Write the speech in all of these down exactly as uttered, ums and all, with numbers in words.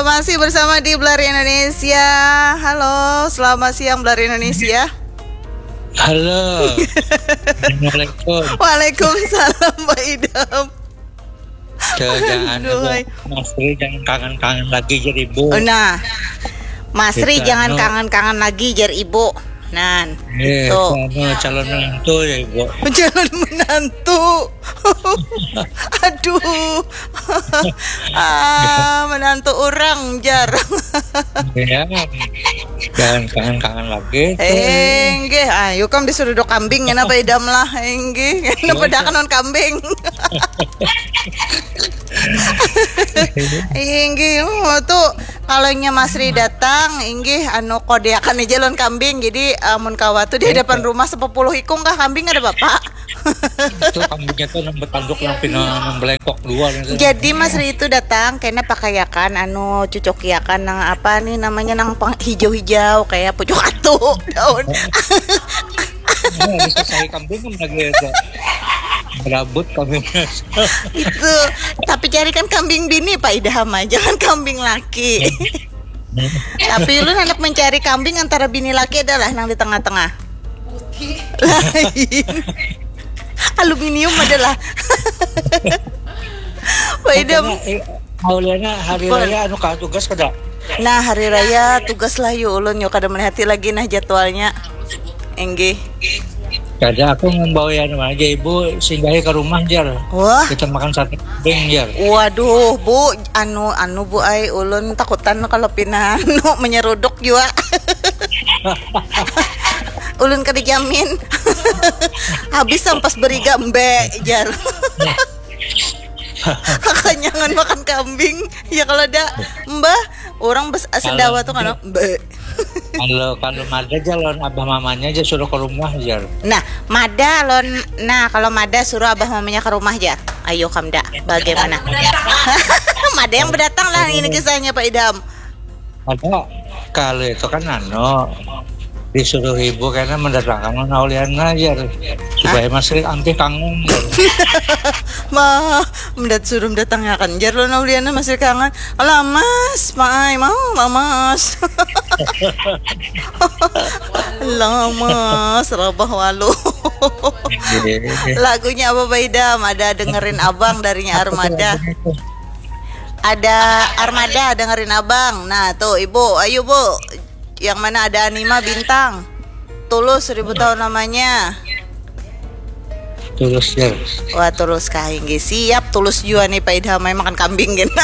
Masih bersama di Belari Indonesia. Halo, selamat siang Belari Indonesia. Halo. Assalamualaikum. Waalaikumsalam Pak Idam. Tuh, jangan Aduh, Ibu. hai. Mas Tri jangan kangen-kangen lagi jadi ibu. Oh, nah, Mas Tri Kita jangan anu. Kangen-kangen lagi jadi ibu. Nan, Eh, tuh. Anu, calon menantu ya ibu. Calon menantu. Aduh. Ah, menantu orang jar. Ya, jangan kangen-kangen lagi. Enggih, ayo kam disuruh dok kambing kenapa idam lah, enggih. Kenapa dah kanon kambing? Inggih, oh, tuh kalau nya Masri datang, inggih anu kodiakan aja lon kambing. Jadi amun kawa tuh di hadapan rumah sepuluh ikung kah kambing ada bapak? Itu kambingnya tuh nang betanduk nang pina nang belengkok dua gitu. Jadi Masri itu datang kena pakaiakan anu cucokiakan nang apa nih namanya nang pang- hijau-hijau kayak pucuk atu daun. Nah, bisa saya kambing kan lagi itu. Berabut kambingnya. Itu tapi carikan kambing bini Pak Idam aja kan kambing laki. Tapi ulun hendak mencari kambing antara bini laki adalah nang di tengah-tengah. Lain. Aluminium adalah. Pak Idam. Makanya, eh, Auliana hari Apa? Raya anu kah tugas kada? Nah, hari raya tugas lah yu ulun yu kada melihati lagi nah jadwalnya. Enggih. Kada, aku membawa anu aja ibu singgahi ke rumah jar. Wah. Kita makan sate kambing jar. Waduh, Bu, anu anu Bu ai ulun takutan kalau pina anu menyeruduk jua. Ulun kada jamin. Habis sampas beriga embe jar. Kakanyangan makan kambing. Ya kalau ada mbah orang bes sendawa tuh kan embe. Kalau kalau mada aja lawan abah mamanya aja suruh ke rumah jar. Nah, mada lon nah kalau mada suruh abah mamanya ke rumah jar. Ayo kamda, bagaimana? Mada yang berdatang lah ini kisahnya Pak Idam. Ada kalau itu kan anu disuruh ibu karena mendatangkan Auliana jar supaya masih ampih kangen jar. Mah, mendat suruh mendatangkan jar lon Auliana masih kangen. Alah mas, maai mau lah mas. Alah mas, rabah walu. Lagunya apa Pak Idam? Ada dengerin abang darinya Armada. Ada Armada dengerin abang. Nah tuh ibu, ayo bu. Yang mana ada Anima Bintang. Tulus seribu tahun lamanya. Tulus jar. Wah tulus kahinggi siap tulus jua nih Pak Idam makan kambing gini.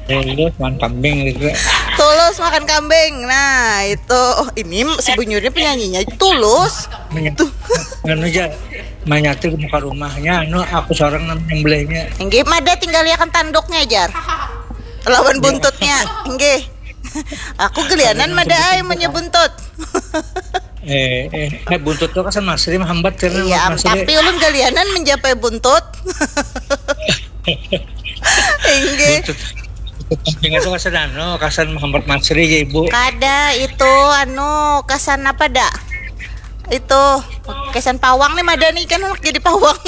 Tulus makan kambing gitu. Tulus makan kambing. Nah itu oh, ini sebenarnya penyanyinya tulus. Tuh. Anu aja manyati muka rumahnya anu aku seorang nang nyembelihnya. Enggih mada tinggal liakan tanduknya jar. Lawan buntutnya. Enggih. Aku gelianan mada ai menyebut buntut. Eh, eh, eh, buntut tuh kan Masri menghambat karena Iya, Masri. Tapi ulun galianan mencapai buntut. Inggih. Buntut tuh kasan anu, kasan menghambat Masri ya ibu. Kada itu anu kasan apa dah? Itu kasan pawang nih mada nih kan anak jadi pawang.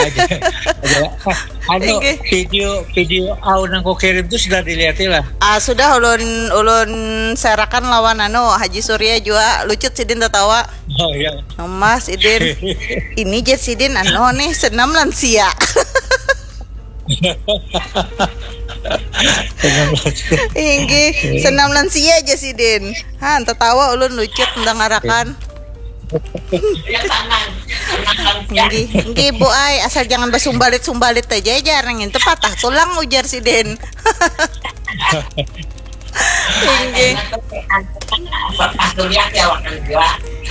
Aja, aja. Anu, video video au nang kau kirim tuh sudah dilihat lah. Ah sudah ulun ulun sarakan lawan anu Haji Surya jua lucut sidin tatawa. Oh iya. Mas Idin, ini jar sidin anu nih senam lansia. Inggih, senam lansia aja sidin. Han, tatawa ulun lucut mendangarakan. Inggih, inggih bu ai, asal jangan basumbalit-sumbalit aja jar nang itu patah tulang ujar sidin. Inggih.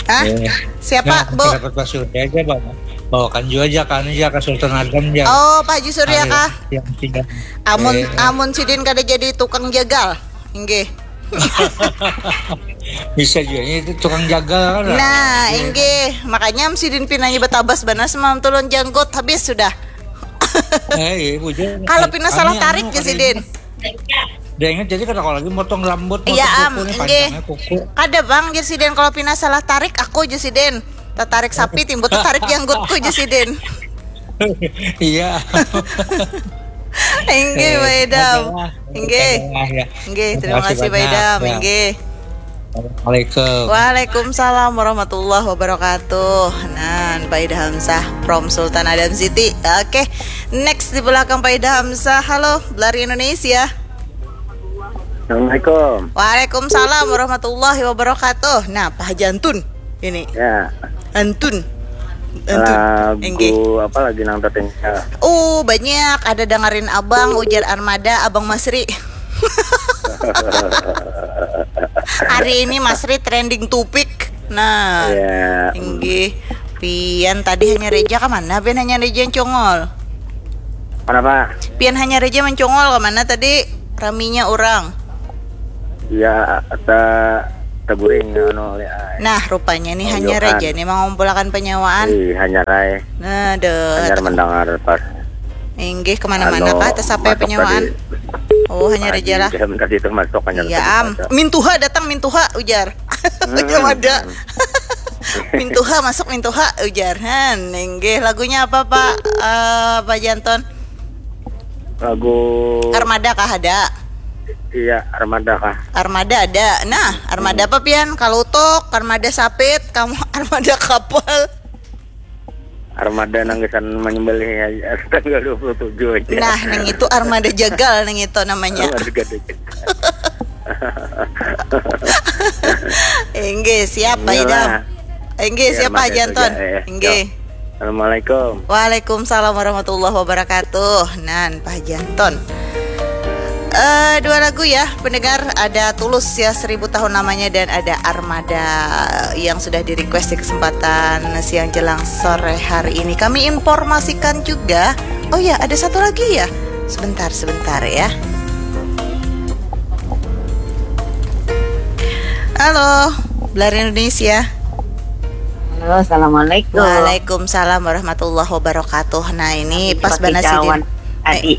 Hah? Siapa, Bu? Dapat Pak Surya aja bawa. Bawakan juga aja kan aja ke Sultan Adam ya. Oh, Pak Haji Surya kah? Yang tiga. Amun eh. Amun sidin kada jadi tukang jagal. Inggih. Bisa juga itu tukang jagal. Nah, inggih. Makanya sidin pinanya betabas banar semalam tulun janggut habis sudah. Eh, iya, bujur. Kalau pina salah tarik ya sidin. Dia ingat jadi kada lagi motong rambut, iya am, inggih. Kada bang, jadi sidin kalau pina salah tarik aku aja sidin. Tatarik sapi timbul tatarik janggutku aja sidin. Iya. Inggih, Pak Idam. Inggih. Inggih, terima kasih Pak Idam. Inggih. Assalamualaikum. Waalaikumsalam warahmatullahi wabarakatuh. Nah, Pak Ida Hamzah from Sultan Adam City. Oke, next di belakang Pak Ida Hamzah. Halo, Belari Indonesia. Assalamualaikum. Waalaikumsalam warahmatullahi wabarakatuh. Nah, Pak Haji Antun ini. Ya. Antun. Antun. Lagu apa lagi nang tertinggal? Oh, banyak. Ada Dengerin Abang, ujar Armada, Abang Masri. Hari ini Masri trending topik. Nah, ya. Inggih. Pian tadi hanya reja ke mana? Pian hanya reja congol. Kenapa? Pian hanya reja mencongol ke mana tadi? Raminya orang. Iya, ta taguring anu oleh ai. Nah, rupanya nih hanya reja nih mengumpulkan penyawaan. Ih, hanya rai. Nah, deh. Hanya mendengar pas. Inggih, kemana-mana anu, kah? Tersapai penyawaan. Tadi. Oh, hanya reja lah. Jam tadi itu masuk hanya. Iya, am. Mintuha datang, mintuha, ujar. Hmm. Ada. Mintuha masuk, mintuha, ujar. Han, inggih. Lagunya apa, Pak? Uh, Pak Janton? Lagu Armada kah ada? Iya, Armada kah? Armada ada. Nah, Armada hmm. Apa pian? Kalau tok, Armada sapit, kamu Armada kapal. Armada nang kesan menyembelih tanggal dua puluh tujuh aja. Nah, nang itu armada jagal nang itu namanya. Inggih, siapa Idam? Inggih, siapa Janton? Inggih. Assalamualaikum. Waalaikumsalam warahmatullahi wabarakatuh. Nan Pak Janton. Uh, dua lagu ya pendengar, ada Tulus ya seribu tahun lamanya dan ada Armada yang sudah di request di kesempatan siang jelang sore hari ini. Kami informasikan juga, oh ya ada satu lagi ya, sebentar sebentar ya. Halo, Belar Indonesia. Halo, assalamualaikum. Waalaikumsalam warahmatullahi wabarakatuh. Nah ini pas banget sih. Adi.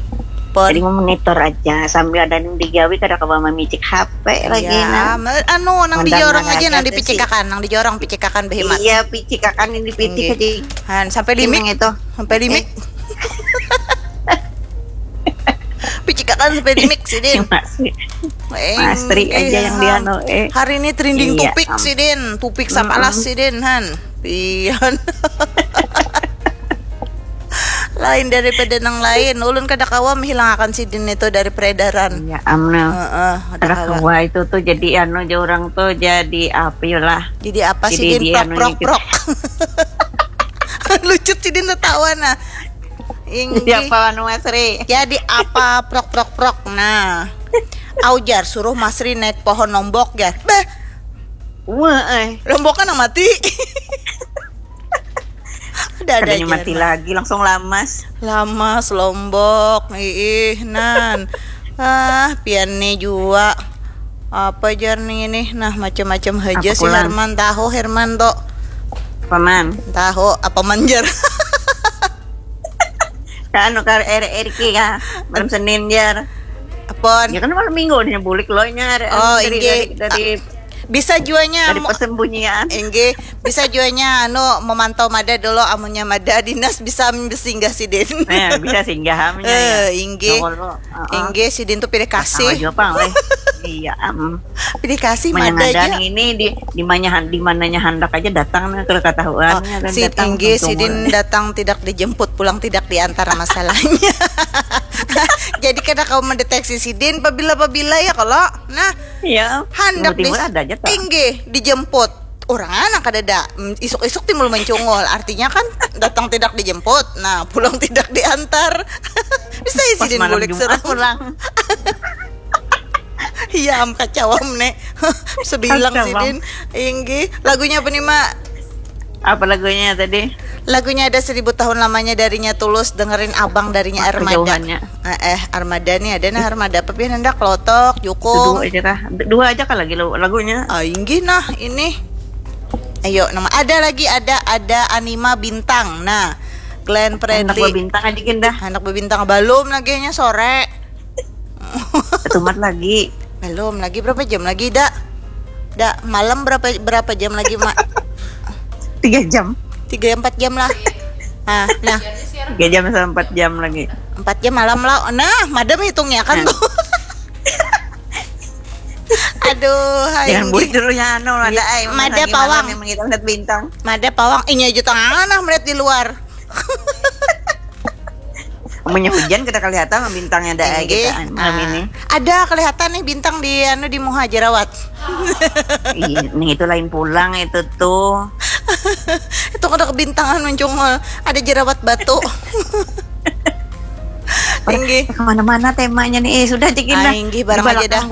Pon. Jadi memonitor aja sambil ada yang digawi kada kawa mamicik H P lagi ya, nah. Anu nang dijorong aja nang dipicikakan, nang dijorong picikakan behimat. Iya, picikakan yang dipitik aja. Han sampai limik itu. Sampai limik. Picikakan sampai limik sih, Din. Mastri aja yang dia no. Eh. Hari ini trending iya, topik sih, Din. Topik sapalas sih, Din, han. Pian. Lain daripada nang lain, ulun kada kawa menghilangakan sidin itu dari peredaran. Ya amna. Heeh, kada kawa. Itu tuh jadi anu aja orang tuh jadi apa ya lah. Jadi apa sidin prok prok prok. Lucut sidin tertawa nah. Inggih. Siapa anu Masri? Jadi apa prok prok prok. Nah. Aujar suruh Masri naik pohon lombok ya. Beh. Wah, eh. Lombok kan mati. Ada ada aja mati lagi langsung lamas. Lamas lombok, ih nan. Ah, pian nih jua. Apa jar nih ini? Nah, macam-macam aja si Herman tahu Herman tuh. Paman. Tahu apa manjar? Kan anu kar Eri Eriki kah? Malam Senin jar. Apon? Ya kan malam minggu nih bulik lo nya. Oh, dari, dari, dari bisa juanya dari persembunyian. Inggih, bisa juanya anu memantau mada dulu, amunnya mada dinas bisa singgah sidin. Nah, bisa singgah amunnya. Eh, ya. Inggih. Inggih sidin tuh pilih kasih. Iya, am. Pilih kasih mada aja. Ini di di mananya di mananya handak aja datang nih kalau ketahuan. Oh, ya, kan, si datang, inggih sidin datang tidak dijemput pulang tidak diantar masalahnya. Jadi kada kau mendeteksi sidin pabila pabila ya kalau nah. Iya. Handak di inggih dijemput. Orang anak kada ada isuk-isuk timbul mencungul artinya kan datang tidak dijemput nah pulang tidak diantar. Bisa ya sidin bulik serang pulang. Iya am kacawam ne. Sebilang sidin. Inggih. Lagunya apa nih mak? Apa lagunya tadi? Lagunya ada seribu tahun lamanya darinya Tulus, dengerin abang darinya Armada. Eh, eh Armada nih ada nah Armada apa pian hendak lotok, jukung. Dua aja kah? Dua aja kah lagi lagunya? Ah, inggih nah ini. Ayo nama ada lagi ada ada Anima Bintang. Nah, Glenn Fredly. Anak bintang aja dah. Anak bintang belum lagi nya sore. Tumat lagi. Belum lagi berapa jam lagi dak? Dak malam berapa berapa jam lagi mak? Tiga jam. Tiga empat jam lah. Ah, nah. Tiga jam sampai empat jam lagi. Empat jam malam lah. Nah, madam hitungnya kan tuh. Aduh, hai. Jangan buat dulu ya anu ada Ya, ai. Mana Mada lagi pawang. Malam yang kita lihat bintang. Mada pawang, inya aja tengah nah melihat di luar. Amunnya hujan kada kelihatan bintangnya ada ai Inggih. kita malam Ah, ini. Ada kelihatan nih bintang di anu di muha jerawat. Iya, nih itu lain pulang itu tuh. Itu kada kebintangan muncung ada jerawat batu. Inggih. Kemana-mana temanya nih. Eh, sudah cik Ah, inggih, barang aja dah.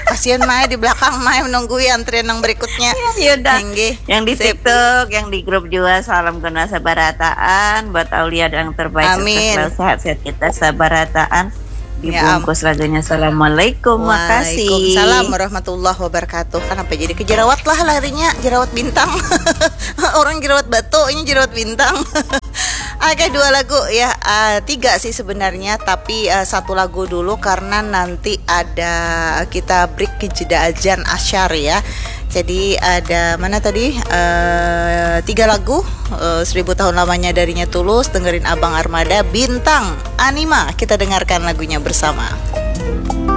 Kasihan mai di belakang mai menunggui antrian yang berikutnya. Ya, ya udah. Inggih. Yang di Sip. TikTok, yang di grup juga salam kenal sabarataan buat Aulia yang terbaik. Amin. Sukses selalu, sehat-sehat kita sabarataan. Ya, am- Dibungkus lagunya assalamualaikum, makasih. Waalaikumsalam warahmatullahi wabarakatuh. Kenapa jadi ke jerawat lah larinya, jerawat bintang. Orang jerawat batu, ini jerawat bintang. Oke, dua lagu ya, ah, tiga sih sebenarnya, tapi ah, satu lagu dulu karena nanti ada kita break ke jeda azan asyar ya. Jadi ada mana tadi eh, tiga lagu eh, seribu tahun lamanya darinya Tulus, dengerin Abang Armada, Bintang, Anima. Kita dengarkan lagunya bersama.